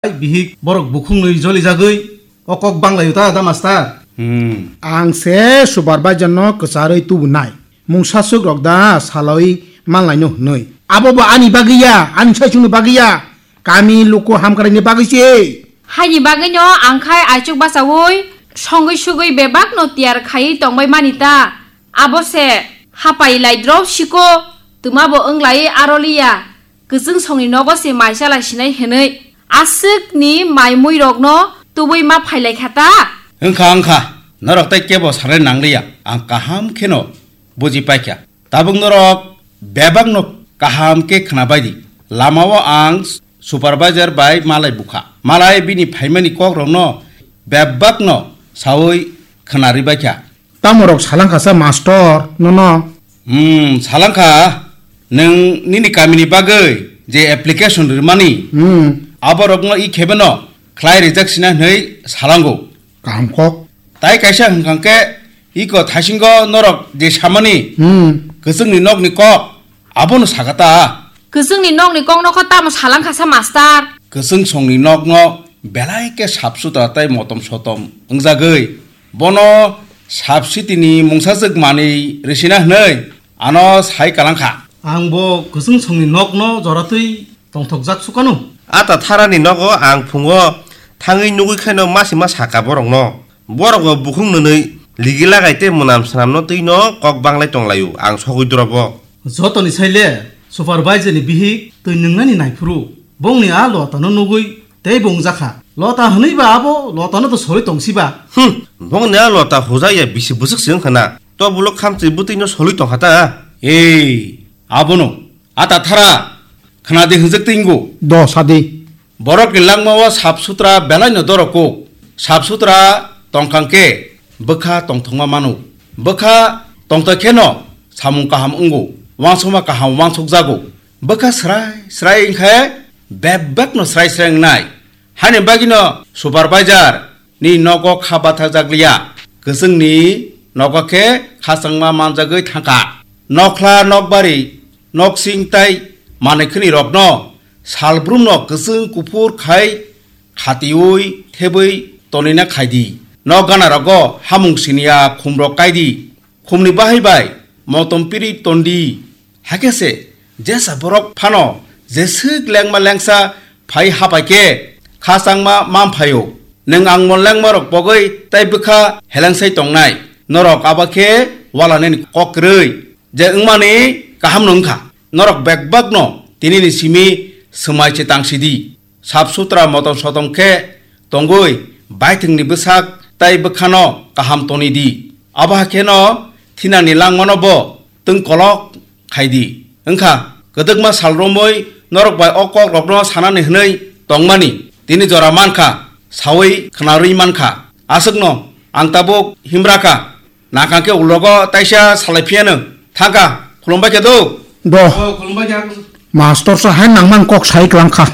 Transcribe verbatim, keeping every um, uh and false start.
Bihik borok bukhungnwi jolijagwi o kok banglaio ta da master? Hmm. Ang se supervisor no kwcharwi tubunai. Mungsa swk rok da salawi manlaino hwnwi. Abo bo ani bagwi ya, ani saichung ni bagwi ya. Kami luku hamkrai ni bagwi se. Haini bagwi no ang khai aichuk bachaui songwi sugwi bebak no tiyar khaiwi tongbai mani ta. Abo se hapai lai drop siko twma bo wng lai aroliya. Kwchwng songni nogo se mai chalai sinai hwnwi aswkni mai muirokno tubui ma phailaikha ta? Wngkha, wngkha, norok tei kebo sanai nangliya, ang kaham kheno buji paikha. Tabuk norok bebakno kaham khe khwnabaidi. Lamao ang supervisor bai malai bukha. Malai bini phaimani kokrokno bebakno saui khwnaribaikha. Tamorok salangkhasa mastor nono? Hmm, salangkha, nwng nini kamini bagwi je application rwmani, hmm, aborokno i khebeno khlai rijak sina hwnwi salango. Kaham kok. Tai kaisa hwnkha khe iko thaisingo norok je samani, hmm, kwchwngni nokni kok, abono sakha ta. Kwchwngni nokni kokno kho tamo salangkhasa mastor? Kwchwng songni nokno belai khe sap sutra tei motom sotom wngjagwi bono sap sitini mungsajwk manwi rwsina hwnwi ano sai kalangkha. Ang bo kwchwng songni nokno joratwi tongthokjak sukano. Ata tharani nogo ang phungo thangwi nugwi khaino masi ma saka borokno. Borok bo bukhung nwnwi ligi lagai tei mwnam swnamno twino kok banglai tonglaio, ang sogwi drobo. Jotoni saile supervisor ni bihik twi nwngnani naiphuru bongni a lotano nugwi tei bongjakha. Lota hwnwi ba abo lotano to sori tongsiba. Hmm, bongni a lota hujaya bisi bwswk se wngkha na. To bulo khamchwi bwtwino soli tongkha ta. Ei, abono ata thara khna di hwnjak tei wngo. Do sadi. Borokni langmao sap sutra belaino dorok kuk. Sap sutra tongkha khe bwkha tongthokma mano. Bwkha tongthok kheno samung kaham wngo, uansukma kaham uansukjago. Bwkha srai srai wngkhe bebakno srai srai wngnai. Haini bagwino supervisor ni nogo kha bathajak liya. Kwchwngni nogo khe khachangma manjagwi thangkha. Nokhla, nokbari, noksing tai manwi khwnwi rokno salbrumno kwchwng kuphur khai khatiui thebwi tonina khaidi. Nok gana rogo hamung siniya khumrok kaidi. Khumni bahai bai motom piri tondi. Hakhe se jesa borok phano jeswk lengma lengsa phai hapai khe khachangma man phaio. Nwng ang mon lengma rok pogwi tai bwkha helengsai tongnai. Norok abo khe walanani kok kwrwi je wngmani kaham no wngkha. Norok bebakno tinini simi swmai se tangsidi. Sap sutra motom sotom khe tongwi baithwngni bwsak tai bwkhano kaham toni di. Abo hai kheno thinani langmano bo twng kolok khai di. Wngkha kwdwkma sal romwi norok bai o kok rokno sanani hwnwi tongmani tini jora mankha, saui khwnarwi mankha. Aswkno ang tabuk himra kha. Nangkha khe ulogo taisa salai phiyano. Thangkha, khulumbai khe do. Do. O, khulumbai khe. Master sa hai nangman kok sai klangkha.